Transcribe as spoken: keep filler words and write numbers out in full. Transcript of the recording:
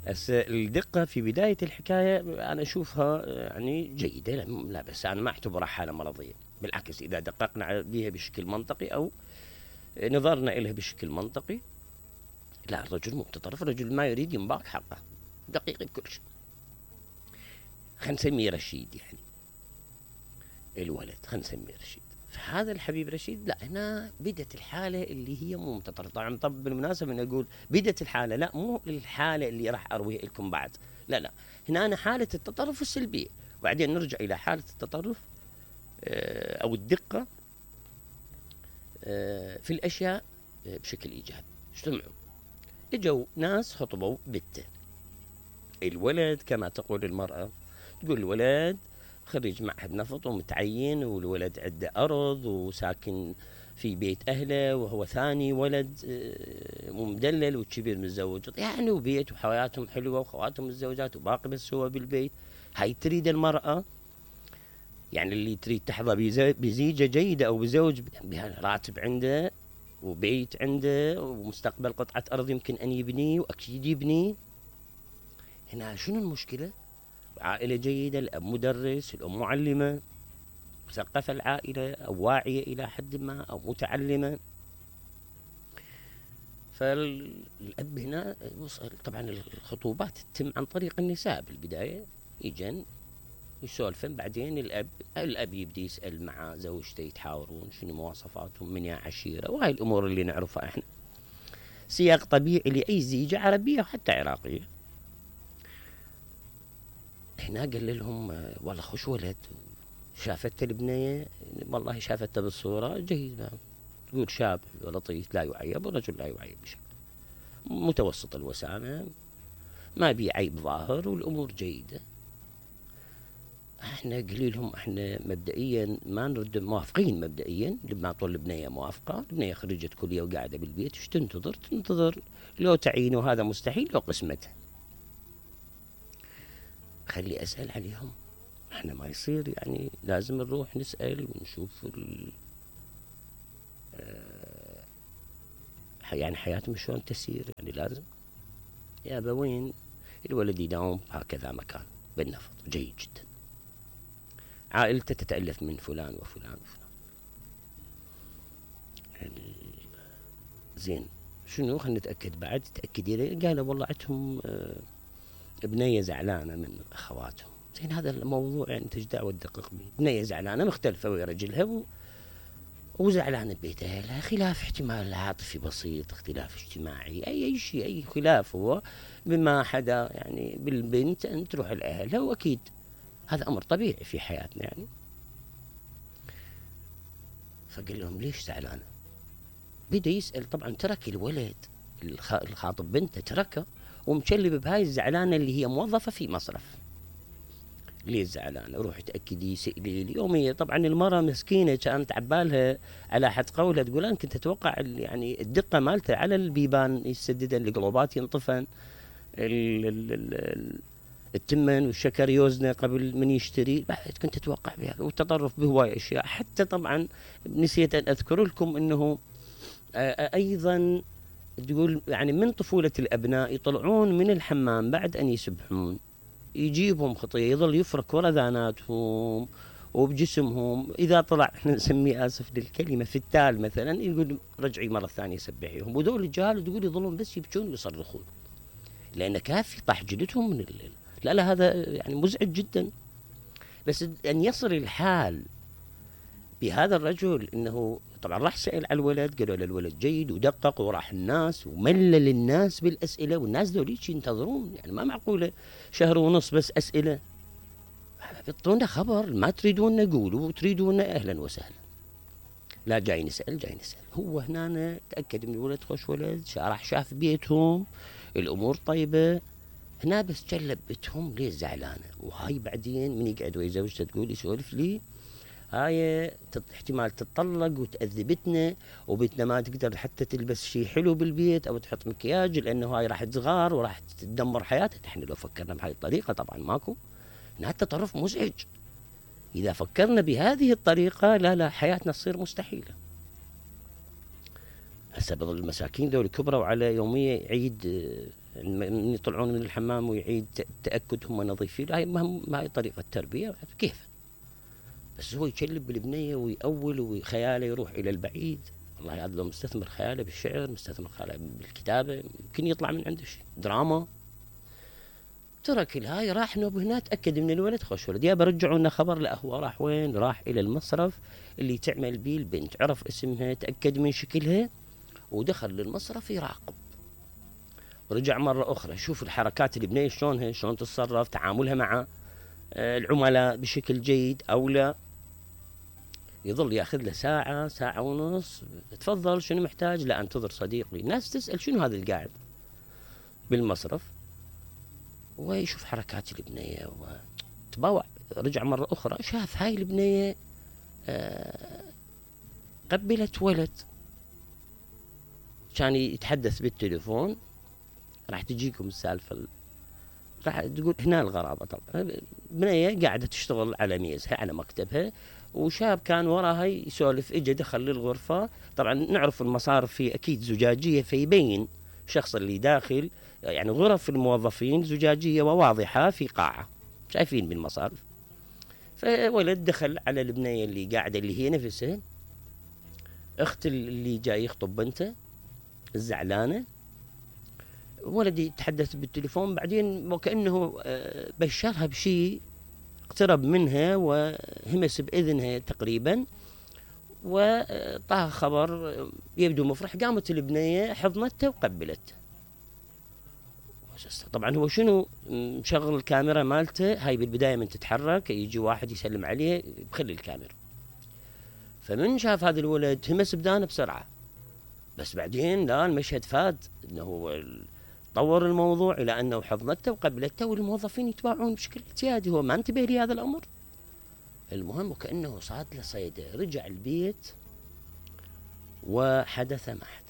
هسه الدقة في بداية الحكاية أنا أشوفها يعني جيدة، لا بس أنا ما أعتبرها حالة مرضية، بالعكس إذا دققنا بها بشكل منطقي أو نظرنا إلها بشكل منطقي، لا الرجل مو متطرف، الرجل ما يريد ينباك حقه، دقيق بكل شيء. خلينا نسميه رشيد يعني الولد، خلينا نسميه رشيد. فهذا الحبيب رشيد لا، هنا بدت الحالة اللي هي مو متطرف. طبعا طب بالمناسبة أنا أقول بدت الحالة، لا مو الحالة اللي راح أرويها لكم بعد، لا لا، هنا أنا حالة التطرف السلبية، وبعدين نرجع إلى حالة التطرف أو الدقة في الأشياء بشكل إيجابي. اجتمعوا، اجوا ناس خطبوا بنته، الولد كما تقول المرأة، تقول الولد خريج معهد نفط ومتعين، والولد عنده أرض وساكن في بيت أهله، وهو ثاني ولد مدلل والكبير متزوج يعني، وبيت وحياتهم حلوة وخواتهم متزوجات وباقي بس هو بالبيت. هاي تريد المرأة يعني اللي تريد تحظى بزيجة جيدة أو بزوج راتب عنده وبيت عنده ومستقبل قطعة أرض يمكن أن يبنيه وأكيد يبنيه. هنا شنو المشكلة؟ عائلة جيدة، الأب مدرس، الأم معلمة، مثقفة العائلة أو واعية إلى حد ما أو متعلمة. فالأب هنا طبعا الخطوبات تتم عن طريق النساء بالبداية، يجن يسولفن، بعدين الأب الأب يبدي يسأل مع زوجته، يتحاورون شنو مواصفاتهم، من يا عشيرة، وهاي الأمور اللي نعرفها احنا، سياق طبيعي لأي زيجة عربية وحتى عراقية. هنا قال لهم والله خوش ولد، شافته البنية والله شافته بالصورة جيد، تقول شاب لطيف لا يعيب، والرجل لا يعيب بشكل متوسط الوسامة، ما بي عيب ظاهر والأمور جيدة. احنا قليلهم احنا مبدئيا ما نرد، موافقين مبدئيا لما طول البنية موافقة، البنية خريجة كلية وقاعدة بالبيت، ايش تنتظر؟ تنتظر لو تعيين، وهذا مستحيل، لو قسمته. خلي أسأل عليهم، احنا ما يصير يعني لازم نروح نسأل ونشوف ال اه يعني حياتهم شلون تسير، يعني لازم يا أبوين الولد يداوم هكذا مكان بالنفط جيد جدا، عائلته تتألف من فلان وفلان وفلان. يعني زين شنو، خلينا نتأكد بعد، تأكدي لي، قالوا والله عندهم اه بنية زعلانة من أخواتهم. زين هذا الموضوع يعني انت ايش دعوة تدقق به؟ بنية زعلانة مختلفة ويا رجلها و... وزعلانة ببيت أهلها، خلاف احتمال عاطفي بسيط، اختلاف اجتماعي، أي أي شيء، أي خلاف هو بما حدا يعني بالبنت أن تروح لأهلها، وأكيد هذا أمر طبيعي في حياتنا يعني. فقال لهم ليش زعلانة؟ بدأ يسأل، طبعا ترك الولد الخاطب بنته تركه ومشلب بهاي الزعلانة اللي هي موظفة في مصرف. ليه زعلانة؟ روح تأكدي، سئلي اليومية. طبعا المرأة مسكينة كانت عبالها على حد قولها تقول أنا كنت أتوقع يعني الدقة مالته على البيبان يسددن، القلوبات ينطفن، التمن والشكر يوزنه قبل من يشتري، بعد كنت أتوقع بها، والتطرف بهواي أشياء. حتى طبعا نسيت أن أذكر لكم أنه أيضا تقول يعني من طفولة الأبناء يطلعون من الحمام بعد أن يسبحون، يجيبهم خطية، يظل يفرك ورذاناتهم وبجسمهم، إذا طلع احنا نسميه آسف للكلمة في التال مثلا، يقول رجعي مرة ثانية سبحيهم، وذول الجهال تقول يظلون بس يبكون ويصرخون لأن كافي طاح جلدهم من الليل. لا لا هذا يعني مزعج جدا. بس أن يصل الحال بهذا الرجل انه طبعا راح سأل على الولد، قالوا له الولد جيد، ودقق وراح الناس وملل الناس بالأسئلة، والناس ذوليك ينتظرون، يعني ما معقولة شهر ونص بس أسئلة، بيعطونا خبر، ما تريدون نقولوا تريدون أهلا وسهلا، لا جاي نسأل جاي نسأل. هو هنا تأكد من الولد خوش ولد، راح شاف بيتهم الأمور طيبة، هنا بس جلب بيتهم ليه زعلانة. وهاي بعدين من يقعد ويا زوجته تقول يسولف لي، هاي احتمال تتطلق وتأذبتنا، وبيتنا ما تقدر حتى تلبس شيء حلو بالبيت او تحط مكياج، لانه هاي راح تصغر وراح تدمر حياتها. احنا لو فكرنا بهاي الطريقة طبعا ماكو، هذا التطرف مزعج. اذا فكرنا بهذه الطريقة لا لا حياتنا تصير مستحيلة. هسه بظل المساكين ذول كبروا على يومية عيد من يطلعون من الحمام ويعيد تأكد هم نظيفين، هاي ما هاي طريقة تربية كيف. بس هو يكلب بالبنية ويأول وخياله يروح إلى البعيد. والله هذا لو مستثمر خياله بالشعر، مستثمر خياله بالكتابة، يمكن يطلع من عنده شيء دراما. ترك الهاي راح نوب هنا، تأكد من الولد خوش ولد، يا برجعوا لنا خبر. لا هو راح وين؟ راح إلى المصرف اللي تعمل بيه البنت، عرف اسمها، تأكد من شكلها، ودخل للمصرف يراقب. ورجع مرة أخرى شوف الحركات البنية شلونها، شلون تتصرف، تعاملها مع العملاء بشكل جيد أو لا. يظل ياخذ له ساعة ساعة ونص، تفضل شنو محتاج؟ لا انتظر صديقي. الناس تسأل شنو هذا القاعد بالمصرف، ويشوف حركات البنية وتباوع. رجع مرة أخرى شاف هاي البنية قبلت ولد، كان يتحدث بالتليفون. راح تجيكم السالفة، راح تقول هنا الغرابة. طبعا بنية قاعدة تشتغل على ميزها على مكتبها، وشاب كان وراها يسولف، اجى دخل للغرفة. طبعا نعرف المصارف في اكيد زجاجية، فيبين الشخص اللي داخل، يعني غرف الموظفين زجاجية وواضحة في قاعة، شايفين بالمصارف. فولد دخل على البنية اللي قاعدة، اللي هي نفسها اخت اللي جاي يخطب بنته الزعلانة. ولد يتحدث بالتليفون، بعدين وكأنه بشرها بشيء، اقترب منها وهمس بإذنها تقريبا، وطاها خبر يبدو مفرح. قامت البنية حضنته وقبلته. طبعا هو شنو مشغل الكاميرا مالته، هاي بالبداية من تتحرك يجي واحد يسلم عليه بخلي الكاميرا. فمن شاف هذا الولد همس بدانه بسرعة، بس بعدين لا، المشهد فاد، انه طور الموضوع الى انه حضنته وقبلته، والموظفين يتباعون بشكل اعتيادي. هو ما انتبه لهذا الامر. المهم وكأنه صاد له صيده، رجع البيت وحدث ما حدث.